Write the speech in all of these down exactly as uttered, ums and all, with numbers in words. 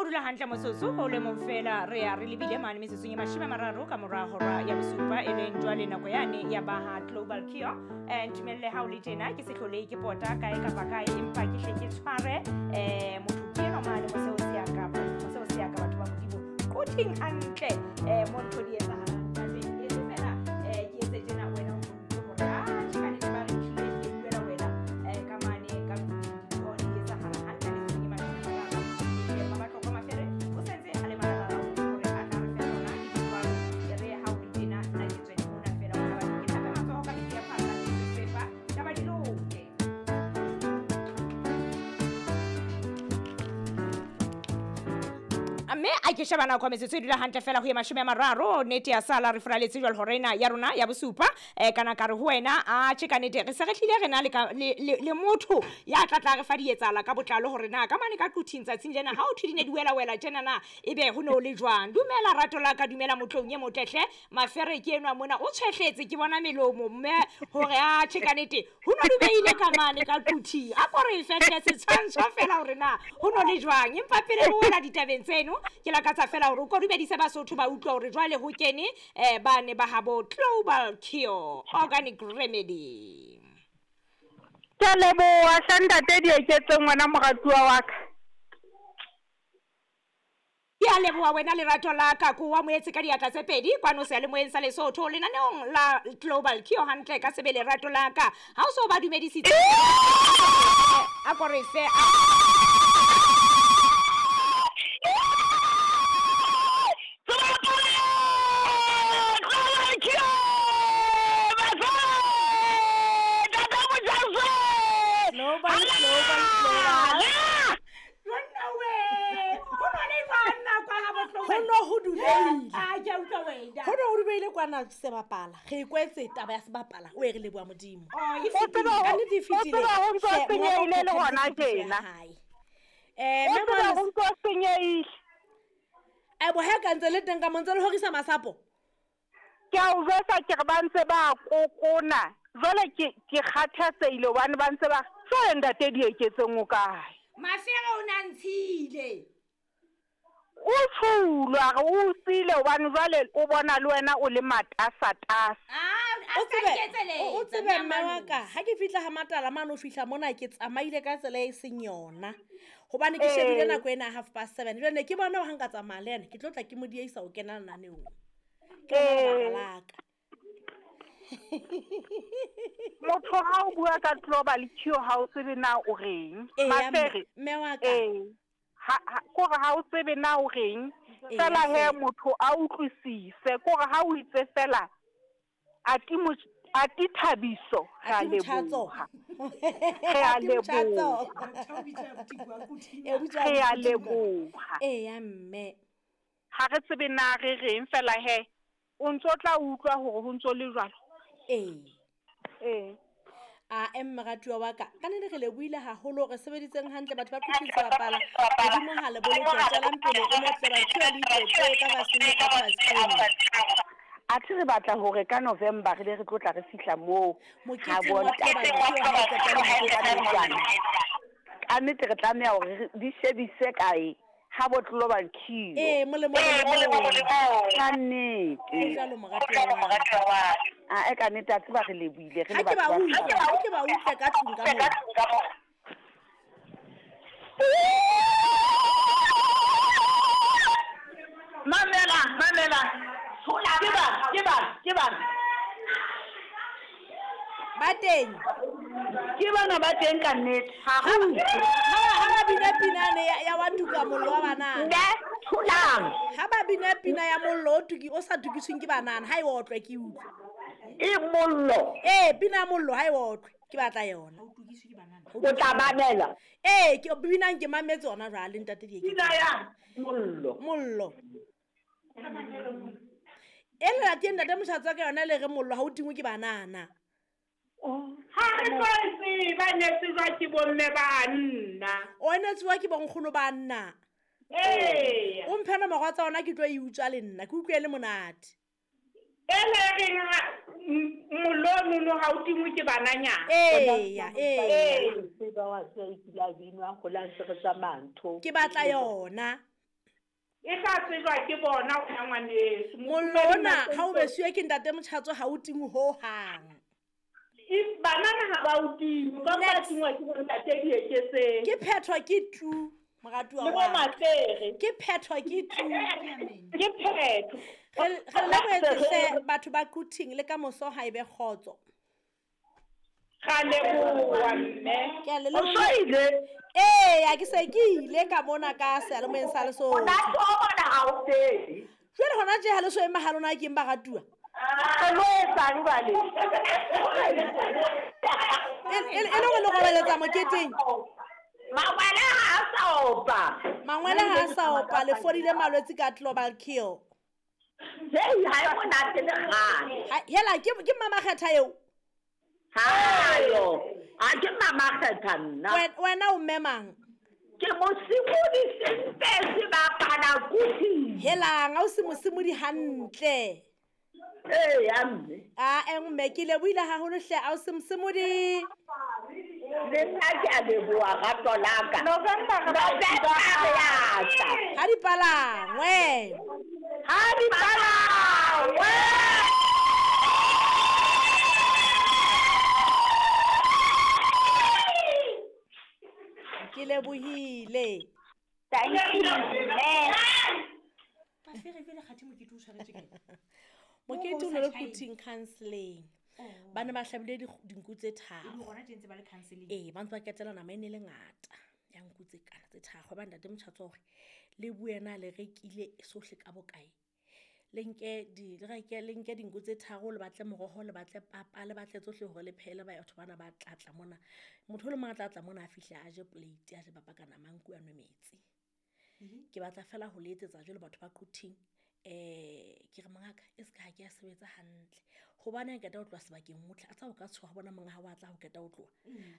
dula hantle motsotso o le mong fela re ya re lebile mane metsotsong e mashome a mararo ka mora hora ya bosupa, e leng jwale nako yane ya baha Global Cure. Eh, ntumelle ha o le tjena ke se hlole ke pota kae kapa kae, empa ke hle ke tshware eh motho ke enwa mane moseo se ya kapa moseo se ya ka batho ba Modimo koting hantle eh mo ntho di etsahalang ka teng. E se fela eh ke etse tjena wena o utlwe hore ah tjhe ka nnete ba re tlile ke buela wena eh ka mane ka dintho di etsahala hantle metsotsong e mashome a mararo. Ke Mmabatlokwa Mafere o sentse a le malala hore a tla re fe tsona dijwalo. E re ha o le tjena nna ke tswele mona fela hore batho ke hlape matsoho ka metsi a phatsa ke sesepa taba di loke. Mme a ke sheba nako metsotso e dula hantle fela ho ye mashome a mararo, nnete ya sala re furaletse jwale hora ena ya rona ya bosupa. Eh, kana ka re ho wena a tjhe ka nnete re se re hlile re na le ka, le, le, le motho ya tla tla re fa dietsala ka botlalo hore na ka mane ka Quthing tsatsing lena ha o thwe di ne di wela wela tjena na ebe ho ne ho le jwang. Dumela rato la ka, dumela motlong e motlehle Mafere ke enwa mona o tshwehletse ke bona melomo mme hore a tjhe ka nnete ho no dubeile ka mane ka Quthing. A ko re fehle setshwantsho fela hore na ho no le jwang, empa pele re wela ditabeng tseno ke lakatsa fela hore o ko dumedise Basotho ba utlwa hore jwale ho kene eh ba ne ba habo Global Cure Organic Remedy. Ke a leboha hle ntate Dieketseng wena moratuwa wa ka. Ke a leboha wena lerato la ka, ko wa moetse ka diatla tse pedi kwano seyalemoyeng sa Lesotho lenaneong la Global Cure hantle ka sebele rato la ka. Ha o so ba dumedisitse a ko re fe a Global, global, global. Jonna we, ho no le jwang kwa ha bohloko? Ho no ho dubeile. Ah, ke a utlwa wena. Ho no ho dubeile kwana sebapala. Re ikwetse taba ya sebapala, o e re leboha Modimo. Oh, e O tseba fetile. ho- Ka nnete e o fetile. tseba ho ntso Hle, senyehile le Mongaka o hona phethetse tshepiso ya tjena. hae. Eh, O mme tseba Moalosi- ho ntso senyehile. Eh, bo he ka ntse le teng ka mo ntse le horisa masapo. Ke a o jwetsa ke re ba ntse ba kokona. Jwale ke ke kgathatsehile hobane ba ntse ba jwale ntate Dieketseng o kae? Mafere o na ntshile. O tshulwa re o siile hobane jwale o bona le wena o le matasatasa. Ah, a O ska tsebe, nketseletsa, o tsebe mme wa ka, Malosi. ha ke fihla ha Matala mane o fihla mona ke tsamaile ka tsela e seng yona. Hobane ke shebile Ee. nako ena ya half past seven. Jwale ne ke bona hore ha nka tsamaya le yena, ke tlo tla ke mo dieisa ho kena lenaneong. Ke lona lebaka Ee. la ka. Motho ha o bua ka Global Cure ha o tsebe na o reng. Eya, mme Mafere. mme wa ka. Ee. Ha ha kore ha o tsebe na o reng. Eya Fela he hle. motho a utlwisise kore ha o itse fela ati mo ati Thabiso re a Ati Motjhatso. leboha. Re a Ati Motjhatso. leboha. Eh, o bitswa Re a Abuti Tikwa. leboha. Eya mme. Ha re tsebe na re reng fela he o ntso tla utlwa hore ho ntso le jwalo. Ee. Ee. A em moratuwa wa ka, ka nnete re lebohile haholo, re sebeditseng hantle batho ba Quthing sebapala. Modimo ha le boloke, tswelang pele o mo tle ba Cure le itlotse ka vaseline ka vaseline. Athe re batla hore ka November re be re tlo tla re fihla moo ha Moketeng wa bontate. Global Cure ha e qeta le mokete. Ka nnete re tlameha hore re di shebise kae ha bo Global Cure. Ee, molemo molemo. Ka nnete. Ho jwalo moratuwa wa ka. Ah, e ka nnete a tseba re lebohile re Ha le ke ba batho ba utlwe, setjhaba. ha ke ba utlwe ka tlung ka mona. Mamela, mamela. Ke ba, ke ba, ke ba. Ba teng. Ke bana ba teng ka nnete. Ha Ha re ba ha ba bina pinane ya ya wa tuka mollo wa banana. Nne, tholang. Ha ba bina pina ya mollo o tuki o sa tukisweng ke banana, ha e otlwe ke utlwe. E mollo. Ee, pina ya mollo ha e otlwe, ke batla yona. O tla mamela. Ee, ke binang ke mametse hona jwale ntate Dieketseng. Pina ya Mollo. Mollo. E le lateng ntate Motjhatso ka yona le re mollo ha o tingwe ke banana. Ha re tlo e tseba ne tsejwa ke bomme ba nna. O ne tsewa ke bonkgono ba nna. Ee. O mphe nomoro tsa ona ke tlo e utswa le nna, ke utlwe e le monate. E le reng ha m- mollo ono ha o tingwe ke bananyana. Eya, eya. Ee. Tseba wa tseba e kile a binwa ho la ntse re tsamaya ntho. Ke batla yona. E tla tsejwa ke bona wena ngwaneso. Mollo ona ha o besiwe ke ntate Motjhatso ha o tingwe hohang. If banana ha ba o tingwe, ba ba tingwa ke bontate Dieketseng. Ke phethwa ke tu moratuwa Le wa bo ka. Mafere. Ke phethwa ke tu. Ke phetho. Re re lebohetse hle batho ba Quthing le ka moso ha ebe kgotso. Ra leboha mme. Ke a le O leboha. so ile? Ee, ke se ke ile ka mona ka seyalemoyeng sa Lesotho. Monate wa bona ha o fele. Jwale hona tje ha le so ema ha lona ke eng baratuwa? Re lo etsang jwale? E e e le hore le robaletsa moketeng. Mangwele ha a sa opa. Mangwele ha a sa opa le fodile malwetse ka Global Cure. Hei, ha e monate le kgale. Ha hela ke ke Mama Kgetha eo. Hayo. Ha ke Mama Kgetha nna. Wen- Wena o mme mang? Ke mosimodi sempe sebapala Quthing. Helang ha o se mosimodi hantle. Ee, ya mme. A e mme ke lebohile haholo hle a o se mosimodi. Le nna ke a leboha rato la ka. November re ba November re a tla. Ha di palangwe. Ha di palangwe. Ke lebohile. Thank you, mme. Mafere jwale kgathe mokete o tshwaretswe kae? Mokete o Moo ne le sa tjhaeng. Quthing counselling. Oh. Ba ne ba hlabile dikg- dinku tse E le tharo. hona tje ntse ba le counselling. Ee, ba ntse ba ketela nama e ne le ngata ya nku tse kana tse tharo. Ba ntate Motjhatso hore le bue na le rekile sohle ka bokae. Le nke di le reke le nke dinku tse tharo le batle moroho le batle papa le batle tsohle hore le phehele batho bana ba tlatla mona. Motho o le mong a tla tla mona a fihle a je plate a je papa ka nama nku a nwe metsi. Ke batla fela ho le etsetsa jwalo batho ba Quthing. Eh ke re mongaka e ska ha ke a sebetsa hantle. Hobane ha ke qeta ho tloha sebakeng o tla a tsa o ka tshoha bona monga ha wa tla ho qeta ho tloha.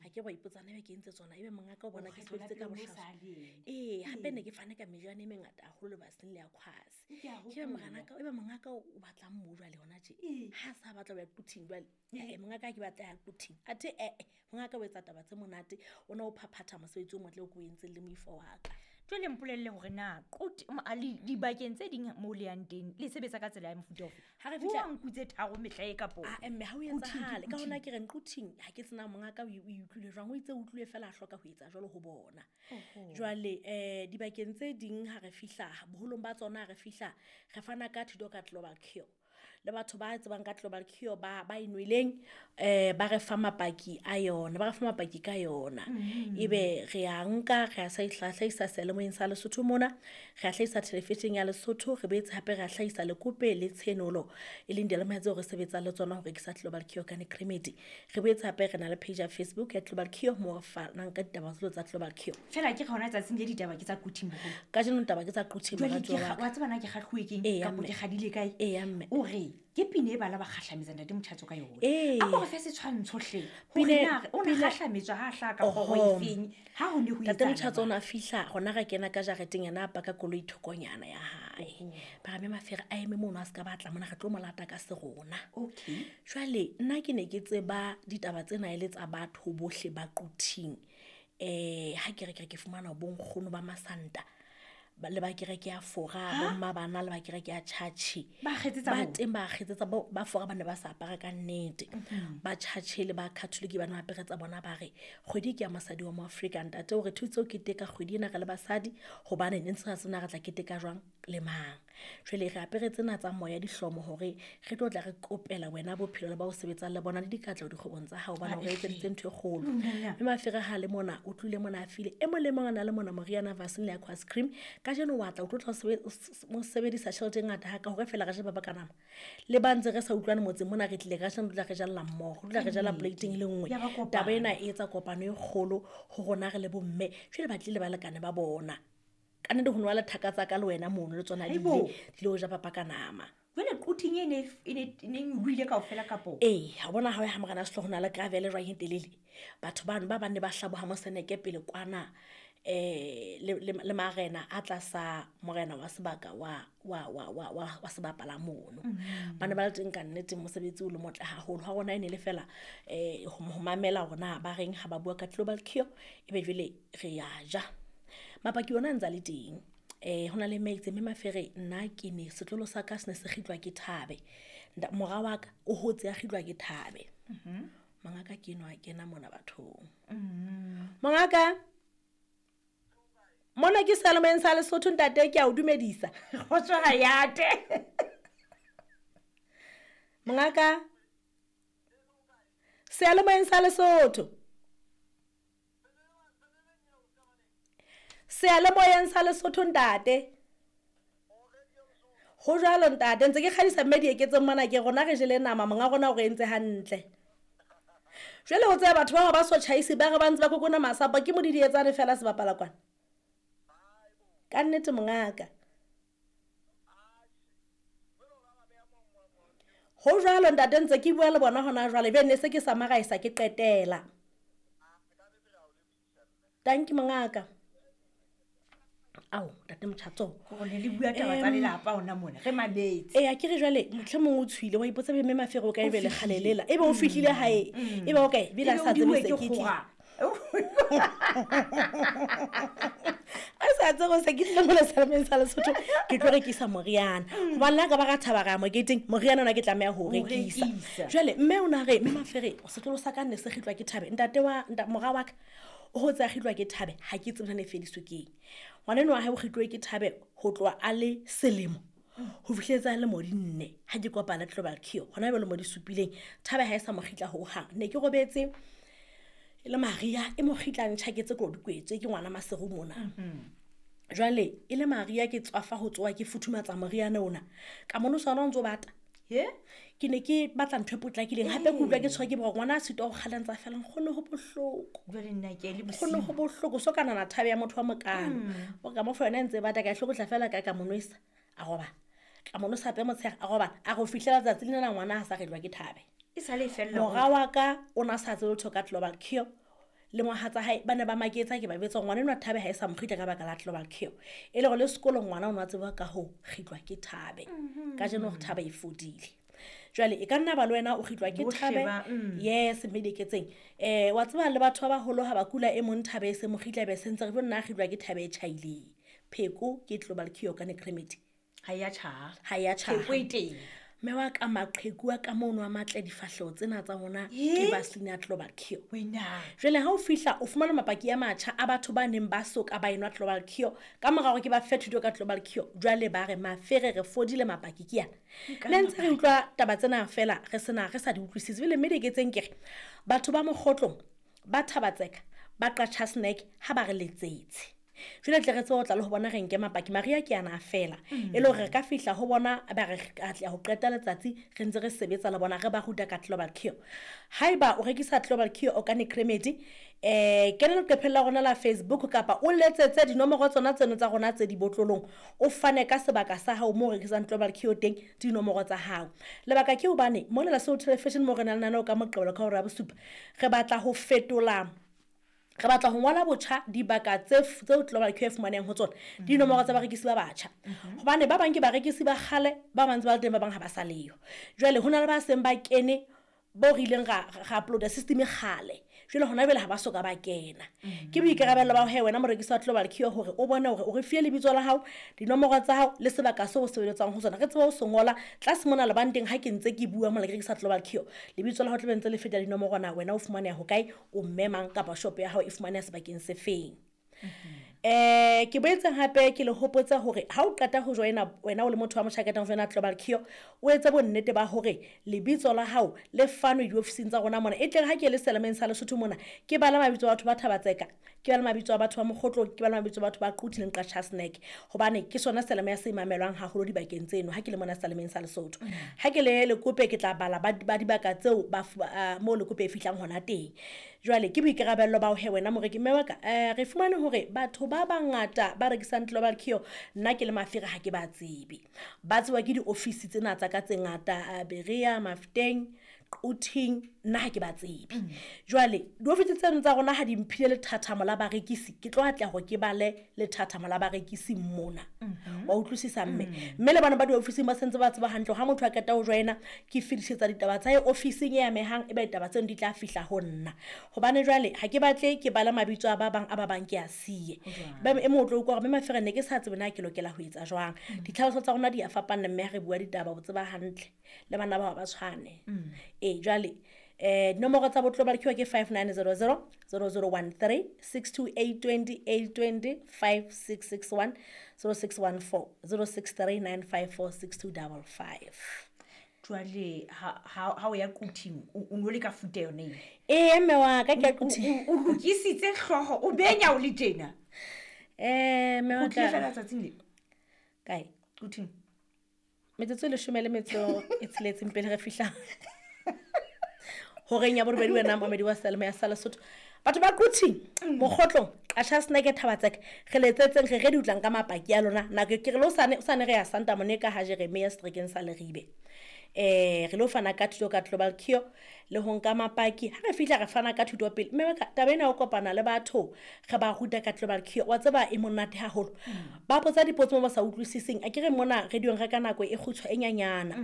Ha ke wa ipotsa na ebe ke entse tsona ebe mongaka o bona ke Kgetho la sebeditse ka pele o no bohlaswa. sa le ena. Ee, hape ne ke fane ka meriana e mengata haholo lebaseng le ya Khwase. Ke a Ke be hopola. moranaka, ebe mongaka o batlang mo jwale hona tje. Ee. Ha sa batla ho ya Quthing jwale. Eh mongaka ha ke batla ya Quthing. Athe eh eh mongaka o etsa taba tse monate, o ne o phaphatha mosebetsi o motle o ko o entseng le moifo wa ka. Jwale mpolelle hore na Qut- m- a le dibakeng tse ding moo le yang teng le sebetsa ka tsela ya mofuta ofe? Ha re Ho fihla wa nku tse tharo mehla e kapo? Ah, mme ha o Quthing ke etsahale. Ka hona Quthing. ke re Quthing ha ke tsena mongaka o e o e utlwile jwang, o itse o utlwile fela a hloka ho etsa jwalo ho bona. Oho. Jwale eh dibakeng tse ding ha re fihla boholong ba tsona ha re fihla re fana ka thuto ka Global Cure. Le batho ba tsebang ka Global Cure ba ba e nweleng eh ba re fa mapaki a yona, ba re fa mapaki ka yona. Ebe re a nka re a sa hlahisa seyalemoyeng sa Lesotho mona, re a hlahisa television ya Lesotho, re boetse hape re a hlahisa Lekope le Tshenolo e leng diyalemoya tseo re sebetsang le tsona ho rekisa Global Cure Organic Remedy. Re boetse hape re na le page ya Facebook ya Global Cure moo re fanang ka ditaba tseo tsa Global Cure. Fela ke hona tsatsing le ditaba ke tsa Quthing boholo. Kajeno taba ke tsa Quthing Jwale ke moratuwa kga- wa ka. wa tseba na ke kgahluwe keng Eya, kapo mme. ke kgadile kae? Eya, mme. O re ke pina e bala ba kgahlametsa ntate Motjhatso ka yona. Ee. A ko re fe setshwantsho hle. Hore Pine- na o ne pina- kgahlametswa ha a hlaha ka kgoro Oho. efeng, ha ho ne ho Ntate etsahala Motjhatso o jwang? ne a fihla hona re kena ka jareteng yena a paka koloi thokonyana ya hae. Ba re mme Mafere a eme mono a ska batla mona re tlo mo lata ka serona. Okay. Jwale nna ke ne ke tseba ditaba tsena e le tsa batho bohle ba Quthing. Eh ha ke re ke re ke fumana bo nkgono ba Masanta ba le ba kereke ya Fora, bo mma bana le ba kereke ya Church. Ba kgetsetsa Ba bona? teng ba kgetsetsa bo ba Fora ba ne ba sa apara ka nnete. Ba Church le ba Catholic ba ne ba apere tsa bona ba re kgwedi ke ya mosadi wa Moafrika ntate o re thutse o keteka kgwedi ena re le basadi hobane ne ntse re tsena re tla keteka jwang le mang. Jwale re apere tsena tsa moya dihlomo hore re tlo tla re kopela wena bophelo le ba o sebetsang le bona le dikatleho dikgwebong tsa hao hobane o re etseditse ntho e kgolo. Mme Mafere ha le mona o tlile mona a file e mong le mong a na le mona moriana Vaseline le Aqua Cream. Kajeno wa tla o tlo tla o sebe- o s- mo sebedisa tjhelete e ngata ha ka hore fela re je papa ka nama. Le ba ntse re sa utlwane motseng mona re tlile kajeno re tla re jalla mmoho, re tla re jalla plate-ing e le nngwe. Ya ba kopano. Taba ena e etsa kopano e kgolo ho rona re le bomme. Jwale ba tlile balekane ba bona. Ka nnete ho nwa le thaka tsa ka le wena mono le tsona di Haibo. ile di lo ja papa ka nama. Jwale Quthing e ne e ne e ne nyolohile kaofela kapo? Ee, ha bona ha o ya ha Morena Sehloho ho na le gravel e jwang e telele. Batho bano ba bang ne ba hlaboha moseneke pele kwana eh le le le marena a tlasa morena wa sebaka wa wa wa wa wa, wa sebapala mono. Ba ne ba le teng ka nnete mosebetsi o le motle haholo. Ha rona e ne le fela eh ho ho mamela hore na ba reng ha ba bua ka Global Cure ebe jwale re ya ja. Mapaki ona a ntse a le teng. um go na le mme itse mme Mafere nna ke ne setlolo sa ka se ne se kgitlwa ke thabe. Mora wa ka o hotse a kgitlwa ke thabe. Mongaka ke enwa a kena mona bathong. Mongaka mona ke Seyalemoyeng sa Lesotho ntate ke a o dumedisa. Kgotso ha yate. Mongaka Seyalemoyeng sa Lesotho. Seyalemoyeng sa Lesotho ntate. Ho jwalo ntate ntse ke kgadisa mme Dieketseng mona ke rona re jele nama monga rona o re entse hantle. Jwale ho tseba batho ba ba so tjhaise ba re ba ntse ba kokona masapo ke modidietsane fela se bapala kwana. Ka nnete mongaka. Ho jwalo ntate ntse ke bua le bona hona jwale be ne se ke samaraisa ke qetela. Thank you mongaka. Ao ntate Motjhatso gore le bua taba tsa lelapa hona mona re mametse. Eh a ke re jwale mohlomong o tshwile wa ipotsa be mme Mafere o ka ebe le kgalelela ebe o fihlile hae ebe o kae bila sa tsebe se ke tle. A sa tsebe se ke tle mona Seyalemoyeng sa Lesotho ke tlo rekisa moriana. Hobane la ka ba ka thaba ra moketeng moriana ona ke tlameha ho rekisa. Jwale mme o na re mme Mafere setlolo sa ka nne se kgitlwa ke thabe ntate wa mora wa ka o hotse a kgitlwa ke thabe ha ke tsebe na e fediswe keng. Ngwana enwa wa hae o kgitlwe ke thabe ho tloha a le selemo ho fihletsa le mo di nne ha ke kopana Global Cure hona be le mo di supileng thabe ha e sa mo kgitla ho hang. Ne ke robetse e le Maria e mo kgitla ntjhaketse ko dikwetswe ke ngwana Maseru mona. Jwale e le Maria ke tswafa ho tsoa ke futhumatsa moriana ona ka mono sona o ntso bata. He ke ne ke batla ntho e potlakileng hape ke utlwa ke tshwa ke boroko ngwana a sitwa ho kgalantsa fela nkgono ho bohloko. Jwale nna ke le bosiu. Nkgono ho bohloko so kana na thabe ya motho wa mokana. O ka mo fa yona ntse bata ka hlokotla fela ka ka monwesa a roba. Ka monosa hape motshehare a roba a go fihlela tsatsi lena ngwana ha sa relwa ke thabe. E sale fella. Mora wa ka o na sa tsebe letho ka Global Cure. Le mohatsa hae ba ne ba maketsa ke ba betsa ngwana enwa thabe ha e sa mo kgitla ka baka la Global Cure. E le gore le sekolong ngwana o na tseba ka ho kgitlwa ke thabe. Ka jeno gore thabe e fodile. Jwale e ka nna ba le wena o kgitlwa ke thabe. Yes mme Dieketseng. Eh wa tseba le batho ba baholo ha ba kula e mong thabe e se mo kgitla be sentse re bona kgitlwa ke thabe e tjhaileng. Pheko ke Global Cure ka Necremedy. Ha ya tjha. Ha ya tjha. Pheko e teng. Mme wa ka maqheku a ka mono a matle difahleho tsena tsa rona ke Vaseline ya Global Cure. Wena. Jwale ha o fihla o fumana mapaki a matjha a batho ba neng ba so ka ba enwa Global Cure ka mora hore ke ba fe thuto ka Global Cure jwale ba re Mafere re fodile mapaki ke yana. Ne ntse re utlwa taba tsena fela re sena re sa di utlwisise bile mme Dieketseng ke re batho ba Mokgotlong ba Thabatseka ba Qacha Snack ha ba re letsetse. Jwale tle re tsebe ho tla le ho bona re nke mapaki Maria ke ana fela e le hore re ka fihla ho bona ba re atleha ho qeta letsatsi re ntse re sebetsa le bona re ba ruta ka Global Cure. Haeba o rekisa Global Cure organic remedy eh kena leqepheng la rona la Facebook kapa o letsetse dinomoro tsona tseno tsa rona tse dibotlolong o fane ka sebaka sa hao mo rekisang Global Cure teng dinomoro tsa hao. Lebaka ke hobane mona Lesotho Television mo re nang le nano ka Moqebelo ka hora ya bosupa re batla ho fetola re batla ho ngola botjha dibaka tse tseo Global Cure fumaneng ho tsona dinomoro tsa barekisi ba batjha. Hobane ba bang ke barekisi ba kgale ba bang ba teng ba bang ha ba sa leyo. Jwale hona le ba seng ba kene bo re ileng ra ra uploada system e kgale. Jwale hona bele ha ba soka ba kena. Ke boikarabelo ba he wena morekisi wa Global Cure hore o bone hore o re fie lebitso la hao, dinomoro tsa hao le sebaka seo o sebeletsang ho sona. Re tsebe ho se ngola tlase mona lebanteng ha ke ntse ke bua mola ke rekisa Global Cure. Lebitso la hao tla be ntse le feta dinomoro na wena o fumaneha ho kae, o mme mang kapa shop ya hao e fumaneha sebakeng se feng. Eh ke boetse hape ke le hopotsa hore ha o qeta ho joina wena o le motho wa motjhaketang joina Global Cure o etse bonnete ba hore lebitso la hao le fanwe diofising tsa rona mona e tle ha ke le Seyalemoyeng sa Lesotho mona ke bala mabitso a batho ba Thabatseka ke bala mabitso a batho ba Mokgotlong ke bala mabitso a batho ba Quthing le Qacha Snack hobane ke sona seyalemoya se mamelwang haholo dibakeng tseno ha ke le mona Seyalemoyeng sa Lesotho. Ha ke le Lekope ke tla bala ba dibaka tseo ba mo Lekope e fihlang hona teng. Jwale ke boikarabello ba ho he wena moreki mme wa ka re fumane hore batho ba bangata ba rekisang Global Cure nna ke le Mafere ha ke ba tsebe. Ba tsewa ke diofisi tsena tsa ka tse ngata Berea, Mafteng, Quthing nna ha ke ba tsebe. Jwale diofisi tseno tsa rona ha di mphile lethathamo la barekisi, ke tlo atleha hore ke bale lethathamo la barekisi mona. Wa utlwisisa mme? Mme le bana ba diofising ba sentse ba tseba hantle ha motho a qeta ho joina, ke fetisetsa ditaba tsa hae ofising e amehang, ebe ditaba tseno di tla fihla ho nna. Hobane jwale ha ke batle ke bala mabitso a ba bang a ba bang ke a siye. Ba e mong o tlo utlwa hore mme Mafere ne ke sa tsebe na ke lokela ho etsa jwang. Ditlhaloso tsa rona di a fapana mme ha re bua ditaba o tseba hantle le bana ba ba tshwane. Eh jwale eh nomoro tsa bo Global Cure ke five nine zero zero zero zero one three six two eight twenty eight twenty five six six one zero six one four zero six three nine five four six two double five. Jwale ha ha ha o ya Quthing o o no le ka futa yone eo? Eh mme wa ka ke ya Quthing. O lokisitse hlooho o benya o le tjena. Eh mme wa O tlile ka. fela tsatsing le. Kae? Quthing. Metsotso e leshome le metso e tsheletseng pele re fihla. Horeng ya borobedi wena momedi wa Selma ya Lesotho. Batho ba Quthing, Mokgotlong, Qasha Snack Thabatseka, re letsetseng re re di utlang ka mapaki a lona. Nako ke re le hosane, hosane re ya Santa Monica ha Jeremia Strekeng sa Leribe. Eh re lo fana ka thuto ka Global Cure le ho nka mapaki. Ha re fihla re fana ka thuto pele. Mme ka taba ena o kopana le batho re ba ruta ka Global Cure. Wa tseba e monate haholo. Ba botsa dipotso mo ba sa utlwisiseng. A ke re mona radiong re ka nako e kgutshwa e nyanyana.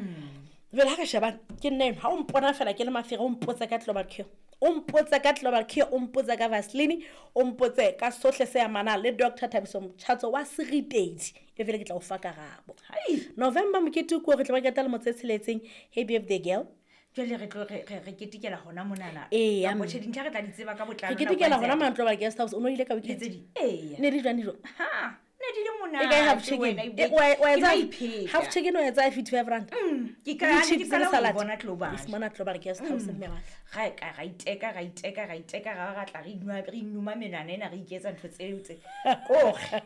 Jwale ha re shebane ke nna eno, ha o mpona fela ke le Mafere, o mpotse ka Global Cure. O mpotse ka Global Cure, o mpotse ka Vaseline, o mpotse ka sohle se amanang le Doctor Thabiso Mchatso wa Seritedi. E fele ke tla o fa karabo. Hai. November mokete ko re tla ba keta le motse tsheletseng. Happy birthday girl. Jwale re tlo re re re ketekela hona monana. Ee, Kapa mme. tjhe, dintlha re tla di tseba ka botlalo Re nako ketekela e hona ntse mane Global Guest House. O no ile ka e weekend? tse di. Ee. Ne di jwang dijo? Ha, ne di le E kae half monate chicken? wena, E, ebile wa e- wa ke etsa no ipheta. half chicken o etsa fifty-five rand. Mm, ke Le ka- chips ke le qala ho e salad. bona Global. E fumana Global Guest House mme wa. Ra ka ra iteka, ra iteka, ra iteka, ra ba ra tla re inwa, re inuma menwana ena, re iketsa ntho tseo tse. Kore.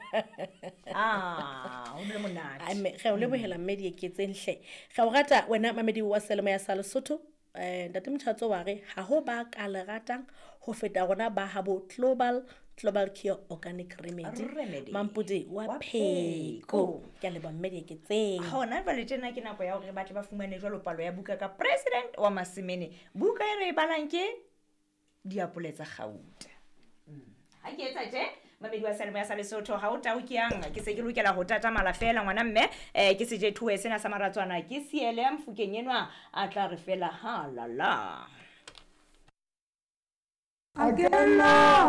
Ah, ho bile monate. Ai, mme, re o lebohela mme dieketseng hle. Re o rata wena mamedi wa Selemo ya sa Lesotho. Eh, Ntate Mchatso wa re ha ho ba ka le ratang ho feta rona ba habo Global, Global Cure Organic Remedy. Remedy. Mampodi wa Wa Pheko. Pheko. Ke a leboha mme dieketseng. Hona jwale tjena ke nako ya hore ba tle ba fumane jwalo palo ya buka ka President wa Masemene. Buka e re e balang ke Diapole tsa Kgauta. Ha ke etsa tje, mamedi wa Selemo ya sa Lesotho, ha o tau ke yang, ke se ke lokela ho tatamala fela ngwana mme, eh, ke sejethuwe sena sa maratswana, ke siele ya Mofokeng enwa a tla re fela ha la la. A ke la.